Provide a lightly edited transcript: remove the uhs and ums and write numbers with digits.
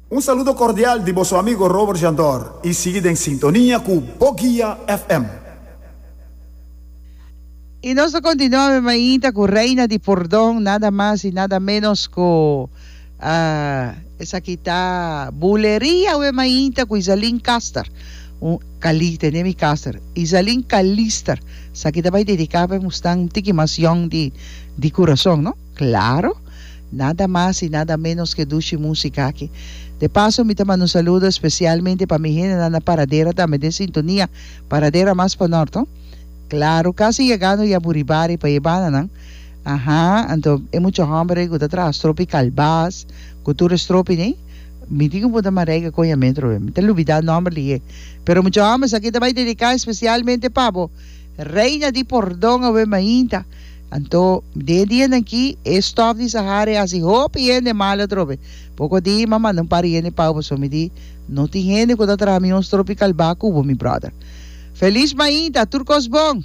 Un saludo cordial di boso amigo Robert Jandor y sigui den sintonia cu Boguia FM. Y nos ta continua mi mainta cu Reina di Pordon, nada mas y nada menos cu esaki ta Buleria we mainta cu Izaline Caster, un Cali, tene mi Caster, Izaline Calister, esaki ta bay dedica pa e musnan un tiki mas yong di di curason no. Claro, nada mas y nada menos ke dushi musica aki. De paso mi ta manda un saludo especialmente pa mi hendenan na Paradera tambe den sintonia, Paradera mas pa nort no. Claro, casi yegando ya Buribari pa e bananan. Aha, anto e mucha homber ey cu ta traha stropi calbas, cu tur e stropi ney, mi tin cu punta Marijke coña metro be, mi ta lubida nomber lihe. Pero mucha homber, esaki ta bay dedica especialmente pa bo, Reina di Pordon awe mainta. Anto, den e dianan aki, e stòf di Sahara e hasi hopi hende mal atrobe. Poko di, m'a manda un par di hende pau pasobra mi di, No tin hende ku ta traha mi un stropi kalbá ku bo, mi bròder. Felis mainta, tur kos bon!